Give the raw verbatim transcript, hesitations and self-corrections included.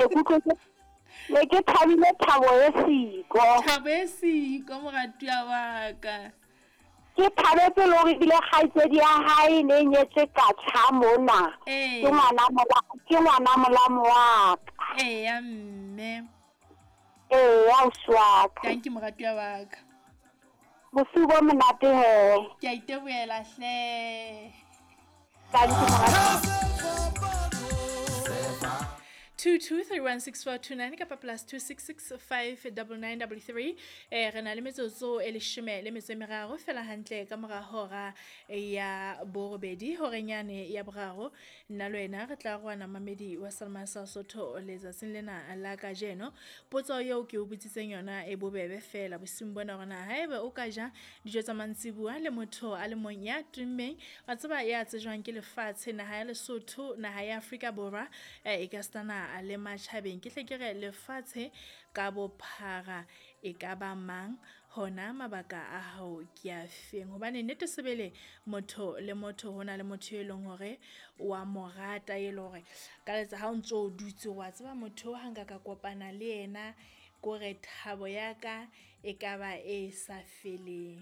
Ne ke utlwe ne ke thabile thabo e siko. Thabo e siko moratuwa wa ka. Ke thabetse le hore ebile kgaitsedi ya hae ne e nyetswe katjha mona. Ee. Ke ngwana mola, ke ngwana molamo wa ka. Eya mme. Eya ausi wa ka. Tanki moratuwa wa ka. Bosiu bo monate he. Ke a itebohela hle. Tanki moratuwa. two two three one six four two nine kapa plus two six six five double nine double three. Eh, re na le metsotso e leshome le metso e meraro fela hantle ka mora hora ya borobedi, horeng yane ya boraro. Nna le wena re tla roana mamedi wa Salma sa Sotho letsatsing lena la kajeno. Potso eo ke o botsitseng yona e bobebe fela bosiung bona hore na haeba o ka ja dijo tsa mantsibuya le motho a le mong ya tummeng, wa tseba ya tsejwang ke lefatshe, naha ya Lesotho, naha ya Afrika Borwa, eh, e ka stana le matjhabeng. Ke hle ke re lefatshe ka bophara e ka ba mang, hona mabaka a hao ke a feng? Hobane nnete sebele motho le motho hona le motho e leng hore wa mo rata, e leng hore ka letsa ha o ntso o dutse wa tseba motho ha nka ka kopana le yena kore thabo ya ka e ka ba e sa feleng.